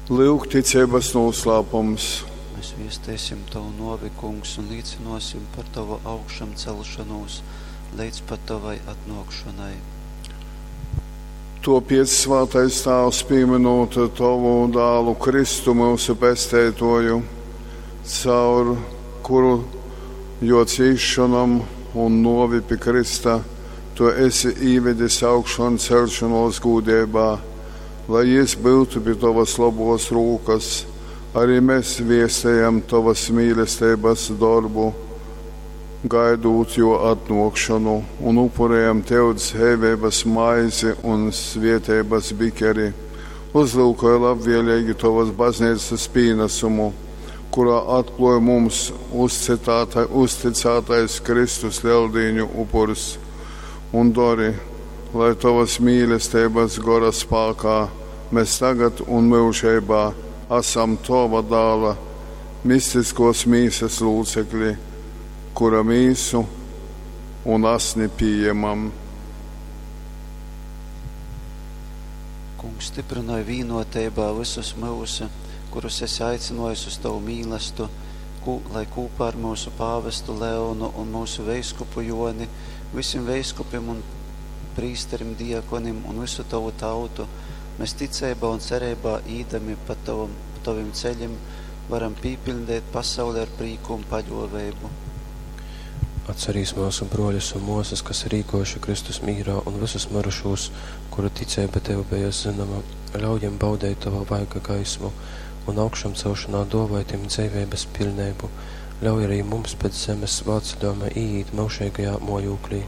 Lyuk ticeibas nūslāpums. Mēs viesteisim tovu nōvi, Kungs, un līcynōsim par tovu augšamcelšonūs leidz pat tovai atnōkšonai. Tōpēc, svātais Tāvs, pīmynūt tovu dālu Kristu, myusu Pesteitōju, caur kuru jō cīsšonom un nōvi pi krysta tu esi īvedis augšanceļšonōs gūdeibā, lai jys byutu pi tovas lobōs rūkas, arī mes viestejam tovas mīlesteibas dorbu, gaidūt jō atnōkšonu, un upurejam tev dzeiveibas maizi un svietības bikeri. Uzlyukoj labvēlīgi tovas bazneicas pīnasumu, kurā atklōj mums uzcitāta, uzticātais Kristus Leldīņu upurs, un dori, lai tovas mīlesteibas gora spākā mēs tagad un myužeibā asam tova dāla mistiskos mīsas lūcekļi, kura mīsu un asni pījemam. Kungs, stiprynoj vīnoteibā vysus myusu, kurus esi aicinājis uz tovu mīlestu, kū, lai kopā ar mūsu pāvestu Leonu un mūsu veiskupu Joni, visim veiskupim un prīsterim, diakonim un visu tovu tautu, mēs ticeibā un cereibā īdami pa tavam, tovim ceļim, varam pīpiļdeit pasauli ar prīku un paļōveibu. Atcerīs myusu brōļus un mōsas, kas ir īgōjuši Kristus mīrā, un vysus myrušūs, kuru ticeiba tev beja zynoma, ļauj jim baudeit tova vaiga gaismu un augšamcelšanā dōvoj tim dzeiveibas piļneibu. Ļauj arī mums pēc zemes svātceļōjuma īīt myužeigajā mōjūklī.